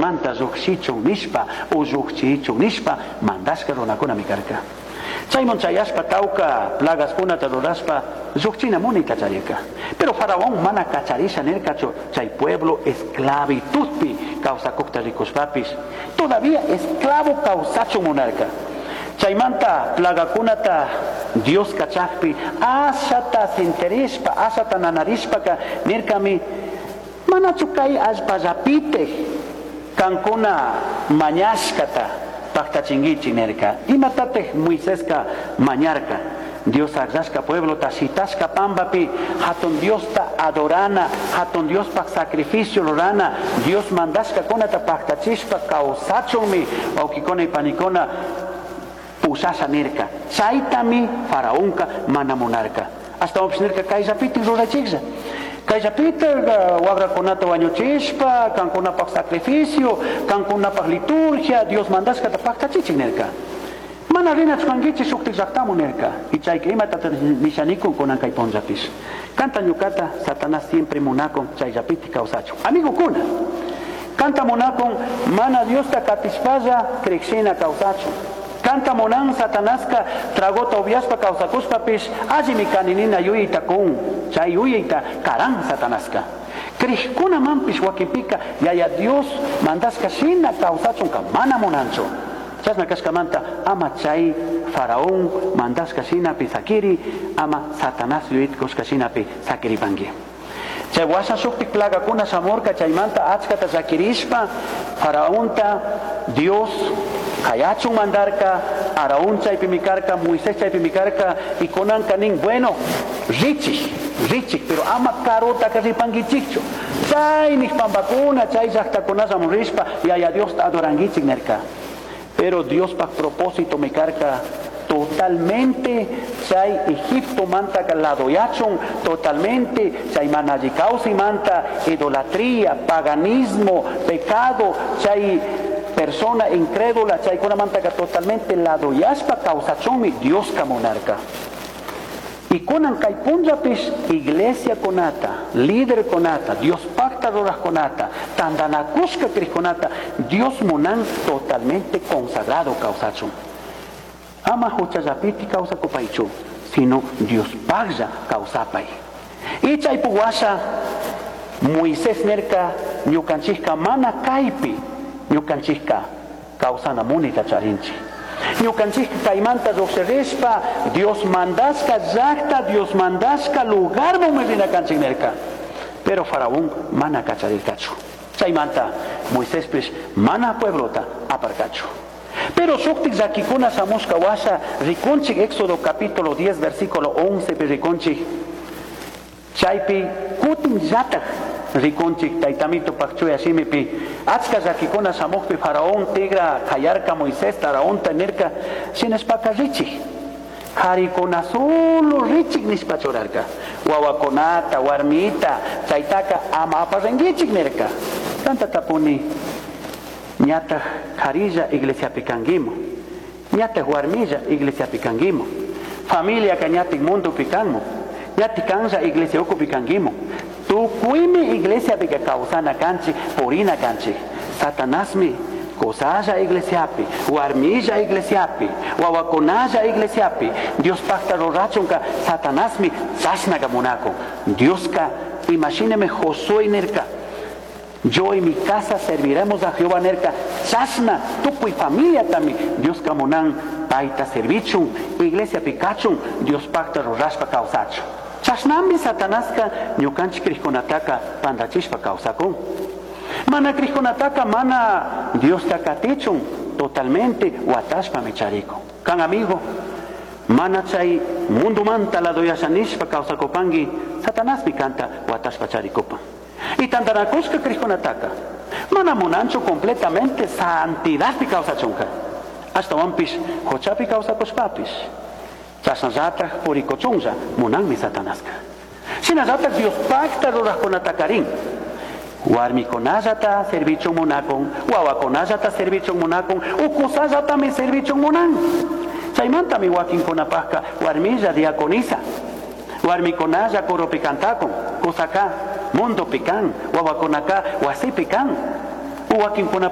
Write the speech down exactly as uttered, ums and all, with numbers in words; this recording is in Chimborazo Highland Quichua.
chaimanta llujshichun nishpa o llujchichun nishpa mandashka runakunami karka. Chayman chayashpa tawka plagaskunata rurashpa llujchina munita charirka. Pero faraón mana kacharisha nirkachu chay pueblo esclavitudpi kawsakukta rikushpapis todavía esclavo kawsachun munarka. Chaymanta plagakunata Dios kachakpi ashata sinterishpa ashata nanarishpaka nirkami manachu kay allpallapitik kankuna mañashkata paktachinkichik nirka. Imatatik Moiseska mañarka? Dios akllashka pueblota shitashka pambapi hatun Diosta adorana, hatun Diospaj sacrificio rurana, Dios mandashkakunata paktachishpa kawsachunmi wawkikuna y panikuna pushasha nirka. Chaytami faraonka mana munarka. Ashtawanpish nirka kayllapitik rurachiklla. Kayllapitik wakrakunata wañuchishpa, kankunapaj sacrificio, kankunapaj liturgia, Dios mandashkata paktachichik nirka. Mana rinachu kankichik shuktik llaqtamun nirka. Y chayka imatata nishanikun kunan kay punllapish. Kanta ñukata Satanás siempre munakun chayllapitik kawsachun. Amigokuna, kanta munakun mana Diosta katishpalla krikshina kawsachun. Kanta munan Satanaska tragota upiashpa kawsakushpapish allimi kani nina yuyayta kun, chay yuyayta karan Satanaska. Krikkunamanpish wakinpika yaya Dios mandashka shina kawsachunka mana munanchu. Chashna kashkamanta ama chay faraón mandashka shinapi sakiri, ama Satanás yuyayta kushka shinapi sakiripanki. Chay washa shuktik plagakuna shamurka chaymanta achkata llakirishpa faraonta Dios kayachun mandarka, Aarón chaypimi karka, Moisés chaypimi karka, y kunanka nin, bueno, richik, richik, pero ama karutaka ripankichikchu. Chaynik pampakuna, chay llaqtakunallamun rishpa, yaya Diosta adorankichik nirka. Pero Diospaj propósito mi karka totalmente chay Egipto manta ladoyachun, totalmente chay mana alli kawsaymanta, idolatría, paganismo, pecado, chay persona incrédula, chaykunamanta totalmente ladoyashpa kawsachunmi Dioska munarka. Y kunan kay punllapish iglesia kunata, líder kunata, Dios pacta rurajkunata, tandanakushka krikkunata, Dios munan totalmente consagrado kawsachun. Ama huchallapiti kawsakupaychu, sino Dios paglla kawsapay. Y chaypuk washa Moisés nirka ñukanchikka mana kaypi ñukanchikka kawsana munita charinchik. Ñukanchikka kaymanta lluqshirishpa Dios mandashka llaqta, Dios mandashka lugarman rina kanchik nirka. Pero faraón mana kacharirkachu. Chaymanta Moisespish mana pueblota aparkachu. Pero shuktik llakikuna shamushka washa rikunchik Éxodo capítulo diez versículo once pi rikunchik. Chaypi kutin llatak rikunchik taytamito chuya shimipi achka llakikuna shamukpi faraón tigra kayarka Moisés Aaraonta nirka shinashpaka richik. Karikuna solo richik nishpa churarka. Wawakunata, warmita, chaytaka ama aparinkichik nirka. Tanta tapuni ñataj karilla iglesiapi kankimu, ñataj warmilla iglesiapi kankimu, familia ka ñatik mundopi kanmu, ñatik kanlla iglesia ukupi kankimu. Tukuymi iglesiapi ka kawsana kanchik, purina kanchik. Satanasmi kusalla iglesiapi, warmilla iglesiapi, wawakunalla iglesiapi, Dios pacta rurachunka Satanasmi chashnaka munakun. Dioska imashinemi Josué nirka, yo y mi casa serviremos a Jehová nirka, chashna tukuy familia también Dios munan payta servichun, iglesia pikachun, Dios pacta rurashpa kawsachun. Chashnami Satanaska ñukanchik krikkunataka pantachishpa kawsakun. Mana krikkunataka mana Diosta katichun totalmente watashpami charikun. Kan amigo, mana chay mundo manta ladoyashanishpa kawsakupanki, Satanasmi kanta watashpa charikupan. Y tantanakushka krikkunataka mana munanchu completamente santidadpi kawsachunka. Ashtawanpish huchapi kawsakushpapish chashnallataj purikuchunlla munanmi Satanaska. Shinallataj Dios pacta rurajkunatakarin. Warmikunallata servichun munakun, wawakunallata servichun munakun, ukusallatami servichun munan. Chaymantami wakinkunapajka warmilla diaconisa, warmikunalla coropi cantakun, kusaka mundopi kan, wawakunaka wasipi kan, wakinkunapajka